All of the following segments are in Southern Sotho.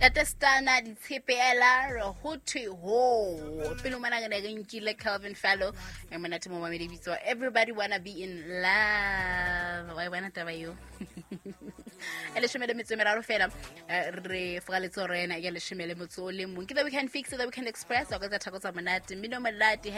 Tatestana ditshepe ela re ho thwe ho pele mona re ne re nkile Calvin Fallow e monate mo mamedi bitso Everybody Wanna Be in Love. Wa e bona taba eo? E 13 fela, re foraletse rena ya 11. Ke The Weekend Fix, The Weekend Express o ka tsa thako tsa monate, mmino monate,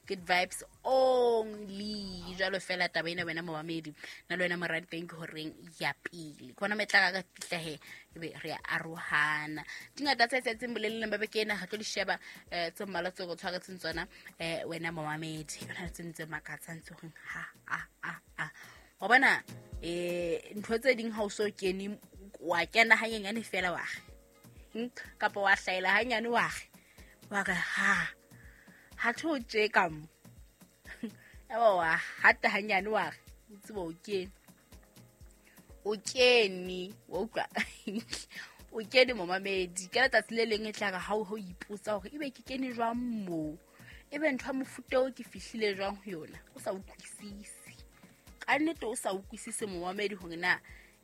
#goodvibes only. Jwalo fela taba ena wena momamedi na le wena moradi teng ke horeng ya pele ke bona metla ka fihla he ebe re a arohana. Dingata tse etsahetseng boleleng ba beke ena ga tlo di sheba, tse mmalwa tse go tshwaretseng tsona, wena momamedi. Ho na le tse ntse makatsang tse goreng ha a a a wa bona, ntho tse ding ha o so kene, wa kena hanyenyane fela wa re, kapa wa hlaela hanyane wa re ha ha tho tje ka mo eba wa hata hanyane wa re o tseba o kene, o kene, wa utlwa, o kene momamedi. Ka letsatsi le leng e tla re ha o ipotsa hore ebe ke kene jwang moo, ebe ntho ya mofuta o ke fihlile jwang ho yona, o sa utlwisise ka nnete, o sa utlwisise momamedi hore na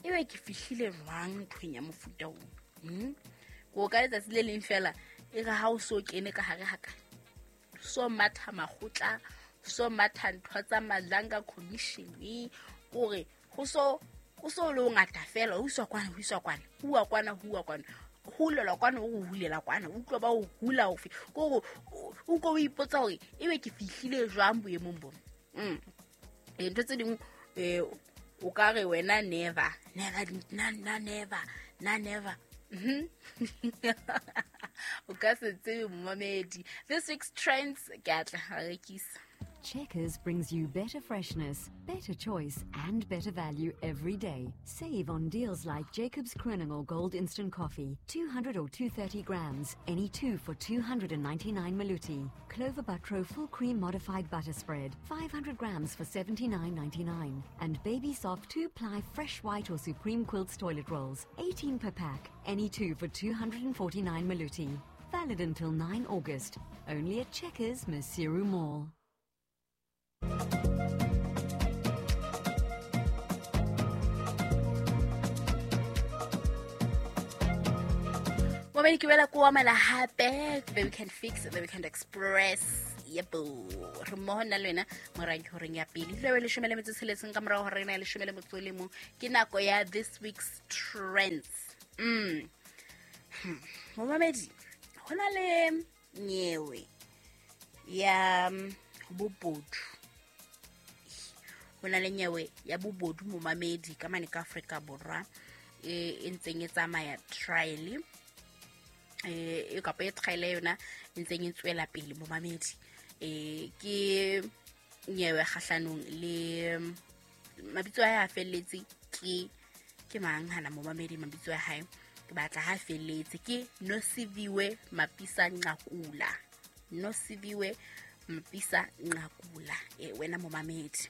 ebe ke fihlile jwang nthong ya mofuta o. Ko ka letsatsi le leng fela e re ha o so kene ka hare haka so matha makgotla, so matha ntho tsa Madlanga Commission, kore ho so le o ngata fela, ho iswa kwana, ho iswa kwana, huwa kwana, huwa kwana, hulela kwana, o hulela kwana, o utlwa ba o hula ofe, kore o ko o ipotsa hore ebe ke fihlile jwang boemong bona. Ntho tse dingwe, o ka re wena never never na na never na never. O ka se tsebe momamedi. This week's trends ke atla rekisa. Checkers brings you better freshness, better choice, and better value every day. Save on deals like Jacobs Kronengold Gold Instant Coffee, 200 or 230 grams, any two for 299 Maluti. Clover Buttro Full Cream Modified Butter Spread, 500 grams for 79.99. And Baby Soft 2-ply Fresh White or Supreme Quilts Toilet Rolls, 18 per pack, any two for 249 Maluti. Valid until 9 August. Only at Checkers, Maseru Mall. Momedi, ke boela ko amela hape The Weekend Fix, The Weekend Express. Yebo, re mmoho nna le wena morang ke horeng ya pele dilo 16 ka morago gore rena ya 11. Ke nako ya this week's trends. Momamedi, ho na le nyewe ya bobodu, ho na le nyewe ya bobodu momamedi ka mane ka Afrika Borwa e ntseng e tsamaya trial, e kapa e trial yona e ntseng e tswela pele momamedi. Ke nyewe kgahlanong le mabitso a hae a felletse ke mang hana momamedi? Mabitso a hae ke batla ha felletse ke Nosiviwe Mapisa Nqakula, Nosiviwe Mapisa Nqakula, wena momamedi.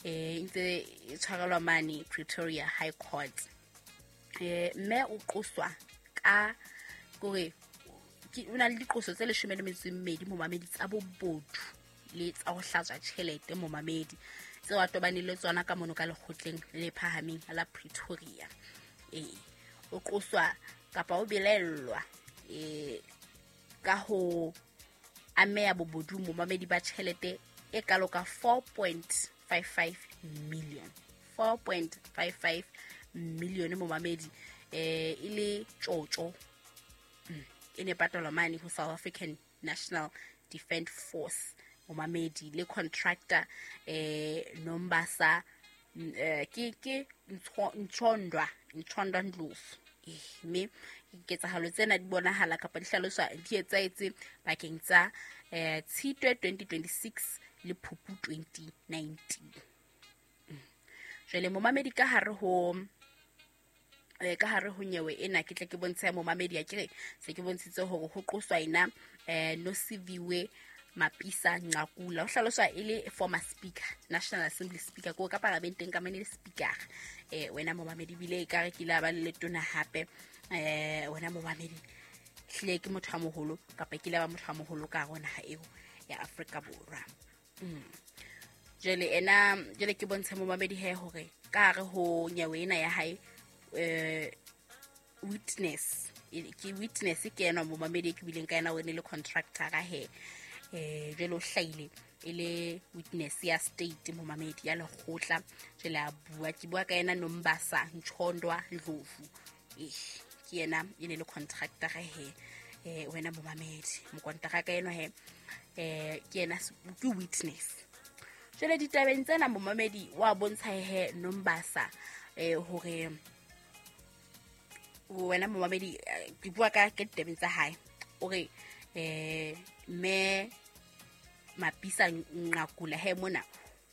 Ntse e tshwarelwa mane Pretoria High Court. Mme o qoswa ka kore o na le diqoso tse 12 momamedi tsa bobodu le tsa ho hlatswa tjhelete momamedi, tseo a tobaneng le tsona ka mono ka lekgotleng le phahameng la Pretoria. O qoswa kapa o belellwa ka ho ameha bobodu momamedi ba tjhelete e kalo ka 4.55 million, 4.55 million momamedi, e le tjotjo e ne patalwa mane ho South African National Defence Force momamedi le contractor Nombasa, ke Ntshondwa Ndlovu. Mme ketsahalo tsena di bonahala kapa di hlaloswa di etsahetse bakeng tsa Tshitwe 2026 le Phupu 2019. Jwale momamedi, ka hare ho nyewe ena ke tle ke bontshe momamedi, ya kere se ke bontshitse hore ho qoswa ena Nosiviwe Mapisa Nqakula, o hlaloswa e le former speaker, National Assembly speaker, ko ka paramenteng ka mane le speaker, wena momamedi, bile e ka re ke ile ba le letona hape, wena momamedi. Hlile ke motho a moholo kapa ke ile ba motho a moholo ka hare ho naha eo ya Afrika Borwa. Jwale ena jwale ke bontshe momamedi he hore ka hare ho nyewe ena ya hae. witness ke witness ke ena momamedi ke bileng ka ena o ne le contractor ka he jwale o hlahile e le witness ya state momamedi ya lekgotla. Jwale a bua, ke bua ka ena Nombasa Ntshondwa Ndlovu, ke yena e ne le contractor ka he wena momamedi mokontraka ka ena he ke yena ke witness. Jwale ditabeng tsena momamedi wa bontsha he Nombasa hore wena momamedi ke bua ka ditabeng tsa hae, o re mme Mapisa Nqakula he mona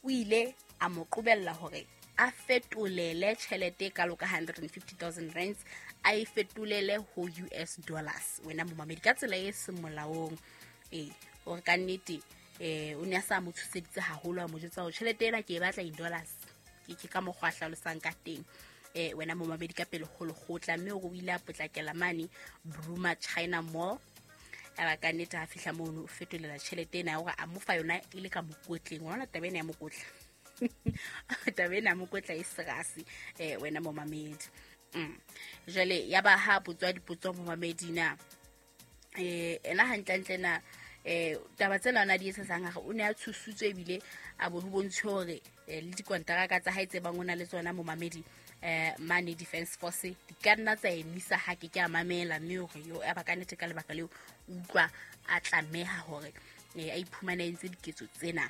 o ile a mo qobella hore a fetolele tjhelete kalo ka 150,000 rands a e fetolele ho US dollars wena momamedi ka tsela e seng molaong. Hore ka nnete o ne a sa mo tshoseditse haholo, a mo jwetsa hore tjhelete ena ke e batla in dollars, ke ka mokgwa a hlalosang ka teng wena momamedi ka pele ho lekgotla. Mme o ile a potlakela mane Bruma China Mall, aba ka nnete ha fihla mono o fetolela tjhelete ena hore a mo fa yona e le ka mokotleng. Wa bona taba ena ya mokotla taba ena ya mokotla e serasi wena momamedi. Jwale ya ba ha botswa dipotso momamedi na ena hantlentle na taba tsena ona di etsang hore o ne a tshosutswe ebile a bo ho bontshwe hore le dikonteraka tsa hae tse bang o na le tsona momamedi mane Defense Force di ka nna tsa emisa ha ke a mamela, mme hore yo a ba ka nnete ka lebaka leo utlwa a tlameha hore a iphumane entse diketso tsena.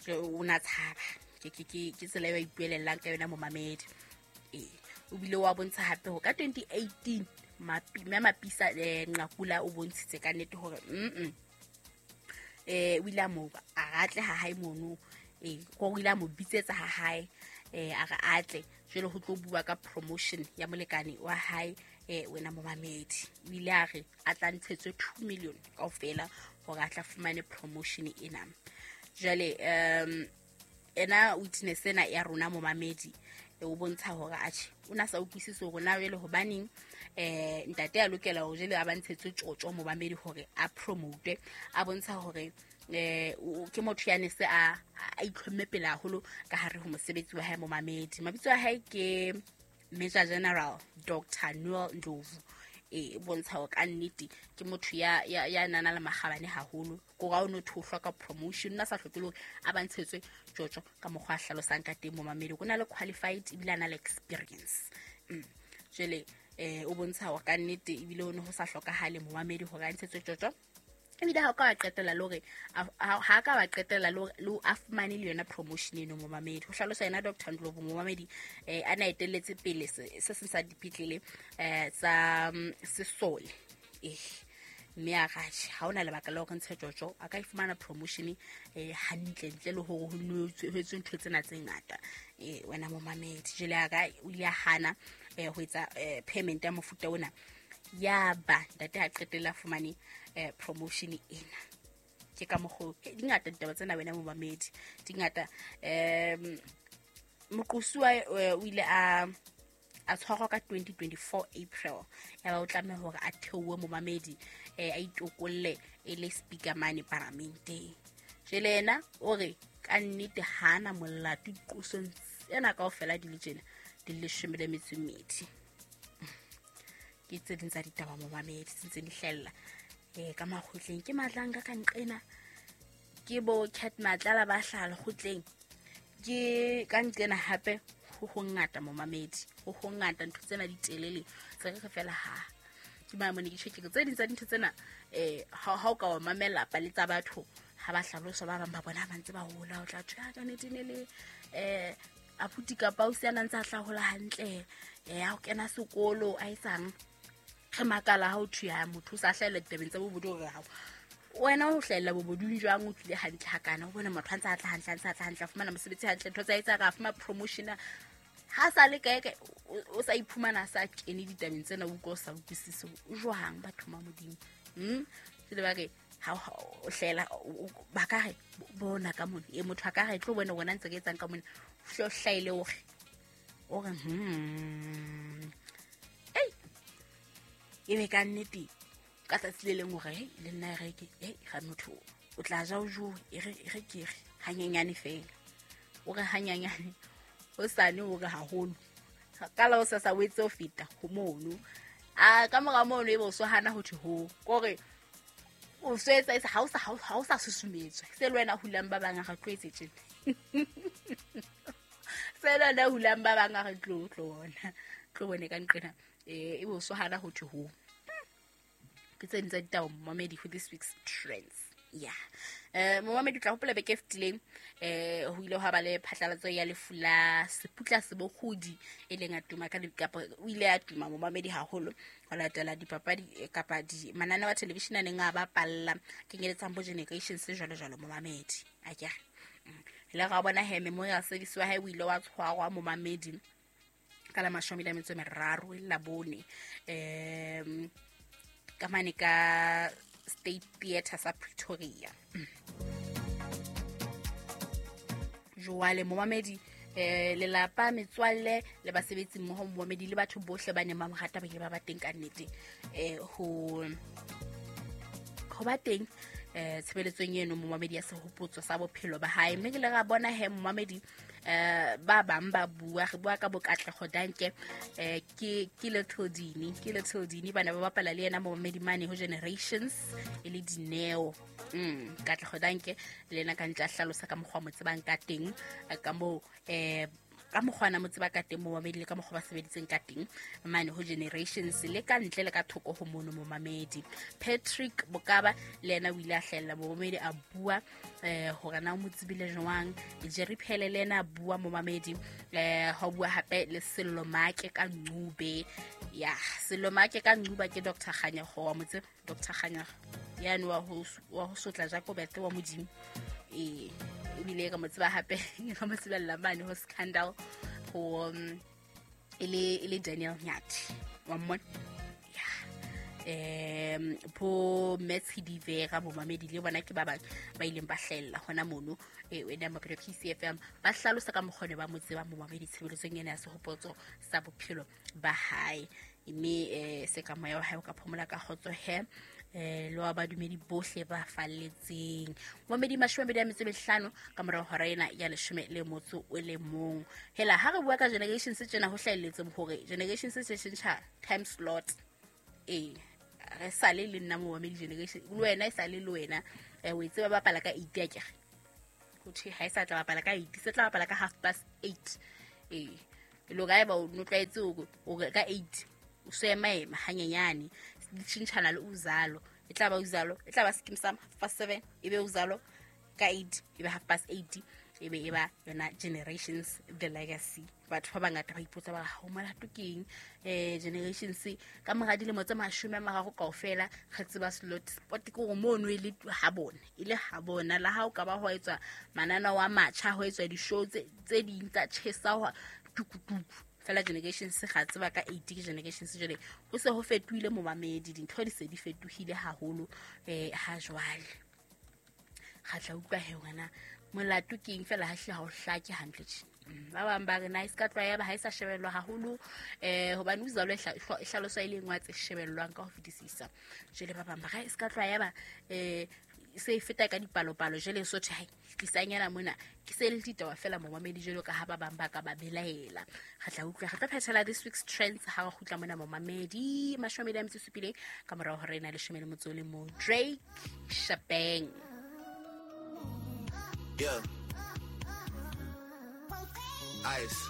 O na tshaba ke tsela eo a ipuelellang ka yona momamedi. O bile wa bontsha hape ho ka 2018 mme Mapisa Nqakula o bontshitse ka nnete hore o ile a mo a atle ha hae mono, o ile a mo bitsetsa ha hae a re atle jwale ho tlo bua ka promotion ya molekane wa hae wena momamedi. O ile a re a tla ntshetswe 2 million kaofela hore a tla fumane promotion ena. Jwale ena witness ena ya rona momamedi o bontsha hore atjhe o na sa utlwisise hore na jwale hobaneng ntate a lokela hore jwale a ba ntshetswe tjotjo momamedi hore a promote. A bontsha hore ke motho ya ne se a itlhomme pele haholo ka hare ho mosebetsi wa hae momamedi. Mabitso a hae ke Major General Dr. Noel Ndlovu. Bontsha hore ka nnete ke motho ya nana le makgabane haholo, ko ga o no thohlwa ka promotion nna sa hloke hore a ba ntshetswe tjotjo ka mokgwa a hlalosang ka teng momamedi. O na le qualified ebile a na le experience. Jwale o bontsha hore ka nnete ebile o ne ho sa hlokahale momamedi hore a ntshetswe tjotjo, ebile ha o ka wa qetella le hore ha ka wa qetella le a fumane le yona promotion eno momamedi. Ho hlalosa yena Dr. Ndlovu momamedi a na etelletse pele se seng sa dipetlele tsa sesole. Mme a ratjhe ha ona lebaka la hore ntshe tjotjo, a ka e fumana promotion hantle ntle le hore ho etswe ntho tsena tse ngata wena momamedi. Jwale a ka o ile a hana ho etsa payment ya mofuta ona, ya ba ntate a qetella fumane promotion ena. Ke ka mokgo di ngata ditaba tsena wena momamedi, di ngata. Moqosuwa o ile a tshwarwa ka 2024 April, ya ba o tlameha hore a theowe momamedi a itokolle e le speaker mane paramenteng. Jwale yena o re ka nnete hana molato diqosong tsena kaofela di le tjena di le 12. Ke tse ding tsa ditaba momamedi tse ntse di hlahella ka makgotleng. Ke Matlanga ka nqena, ke bo Cat Matlala ba hlaha lekgotleng, ke ka nqena hape ho hongata momamedi, ho hongata ntho tsena di telele tse re fela ha ke ba mone ke tjheke tse ding tsa dintho tsena ha o ka wa mamela pale tsa batho ha ba hlalosa ba bang ba bona ba ntse ba hola, o tla thwe ka nnete ne le abuti kapa o se a ntse a hlahola hantle ha o kena sekolo a etsang re makala ha o thwe ha motho o sa hlahella ditabeng tsa bobodu hore ha wena o hlahella bobodung jwang o tlile hantle hakana, o bone motho a ntse a tla hantle, a ntse a tla hantle, a fumana mosebetsi hantle, ntho tsa etsa ka fumana promotion ha sa le kae o sa iphumana a sa kene ditabeng tsena, o utlwa o sa utlwisise o jwang batho ba Modimo. Jwale ba re ha o hlela ba ka re bona ka mona motho a ka re tlo bona wena ntse ke etsang ka mona, o hlaile o re ebe ka nnete ka tsatsi le leng hore le nna re ke ga motho o tla ja o jowe e re ke re hanyenyane fela, o re hanyenyane o sane o re haholo Ka la o sa sa o etse ho feta ho mono. A ka mora mono e bo so hana ho thwe ho. Kore o so etsa e ha o sa susumetswa. Se le wena hulang ba bang a re tlo etse tjena. Se le wena hulang ba bang a re tlo bona. Tlo bone ka nqena. E bo so hana ho thwe ho. Ke tse ding tsa ditaba momamedi for this week's trends. Yeah. Momamedi tla hopola beke e fetileng ho ile hwa ba le phatlalatso ya lefu la Seputla Sebokgodi e leng a tuma ka kapa o ile a tuma momamedi haholo ho latela dipapadi kapa di mananeo a television a neng a bapalla kenyeletsang bo Generations jwalo jwalo momamedi. Akere. Le ga bona he memorial service wa hae o ile wa tshwarwa momamedi ka la 23 la bone ka mane ka State Theatre sa Pretoria. Jwale momamedi lelapa metswalle le basebetsi mmoho momamedi le batho bohle ba neng ba mo rata ba ile ba ba teng ka nnete ho ba teng tshebeletsong eno momamedi ya sehopotso sa bophelo ba hae. Mme ke le ra bona he momamedi ba bang ba bua re bua ka bokatlego danke ke Little Dini bana ba bapala le yena momamedi mane ho Generations e le Dineo. Katlego danke le yena ka ntle a hlalosa ka mokgwa mo tsebang ka teng ka moo ka mokgwa na mo tseba ka teng momamedi le ka mokgwa ba sebeditseng ka teng mane ho Generations le ka ntle le ka thoko ho mono momamedi. Patrick Bokaba le yena o ile a hlahella momamedi a bua hore na o mo tsebile jwang. Jerry Phele le yena a bua momamedi ho bua hape le Sello Maake ka Ncube. Ya Sello Maake ka Ncube ke Dr. Kganyago wa motse Dr. Kganyago yane wa ho sotla Jacobete wa Modimo ebile ka mo tseba hape ka mo tsebella mane ho Scandal ho e le Daniel Nyathi wa mmona. Ya bo Metsi Vera bomamedi le bona ke ba bang ba ileng ba hlahella hona mono wena Maphelo PCFM ba hlalosa ka mokgwa ba mo tseba momamedi tshebeletsong ena ya sehopotso sa bophelo ba hae. Mme se ka moya wa hae o ka phomola ka kgotso he le wa badumedi bohle ba falletseng. Momedi 25 ka morao hora ena ya 11. Hela ha re bua ka Generation se tjena ho hlahelletse hore Generation se tjhentjha time slot. Re sale le nna momedi Generation le wena e sale le wena o e tseba bapala ka 8 akere. Ho thwe ha e sa tla bapala ka 8 se tla bapala ka 8:30. Lo ga eba o tlwaetse o ka 8 o se ema hanyenyane di tjhentjhana le uzalo e tla ba uzalo e tla ba Skeem Saam 7:30 e be uzalo ka 8 e be 8:30 e be e ba yona Generations the Legacy. Batho ba bangata ba ipotsa ba ha o molato keng Generations ka mora dilemo tse 30 kaofela re tseba slot spot ke hore mono e le ha bona e le ha bona la ha o ka ba ho etswa manana wa matjha ho etswa di-show tse ding tsa tjhesa ho tukutuku fela Generations ga tseba ka 8 ke Generations jwale ho se ho fetohile momamedi dintho di se di fetohile haholo ha jwale ga tla utlwa he wena molato ke eng fela ha hle ha o hlake hantle tje. Ba bang ba re na e ska tlwaela ha e sa shebellwa haholo hobane uzalo e hlaloswa e le nngwe tse shebellwang ka ho fetisisa. Jwale ba bang ba re e ska tlwaela se e feta ka dipalopalo jwale so thwe hai tlisanyana mona ke se le ditaba fela momamedi jwalo ka ha ba bang ba ka ba belaela. Re tla utlwa re tla phethela this week's trends ha re kgutla mona momamedi 27 ka morao hore ena 11 Drake Shebang. Yeah. Ice.